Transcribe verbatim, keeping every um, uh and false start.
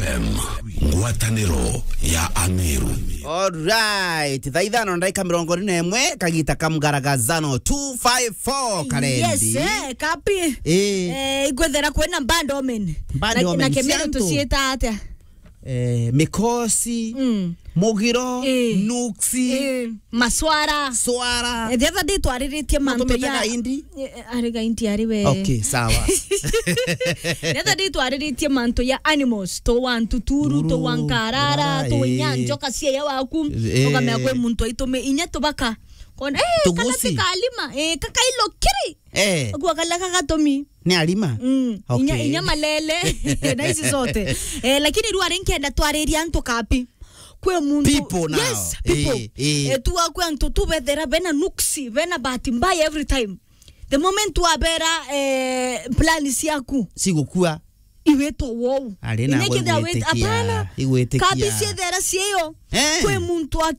M, ngwataniro ya Ameru. Alright, thaa ithano na ndagika mirongo iri na imwe, kagita ka mgaragazano two five four karendi. Yes, eh, kapi. Eh. Eh, igwethera kwina band omen. Band na, omen, na Kemere ciantu. Tuciita atia? Eh, mikosi, mm, mugiro, eh, nuksi, eh, maswara. Swara. Eh, the other day twariritie mantu ya Indi. Eh, eh, ari ga Indi ari we. Okay, sawa. The other day twariritie mantu ya animals, to wa ntuturu, to wa nkarara, to wa inya njoka cia ya waku. Eh. Ukamea kwi muntu aitume inya tubaka. Kona, eh, kana ti kalima, eh, kakailo kiri. Eh. Agua kala kagatomi. Ni arima? Mm. Okay. Inya, inya malele. Na ici zote. Eh, lakini riu ari nkenda twariria antu kapi. Kwi muntu. People now. Yes, people. Eh, eh. Eh, tu akwe antu tu bethera bena nuksi, bena bahati mbaya every time. The moment wabera, eh, plan ciaku. Cigukua. Iwetwa wou. Ari na igwitikia. Apana. Igwitikia. Kabi ciethera cieyo. Eh. Kwi muntu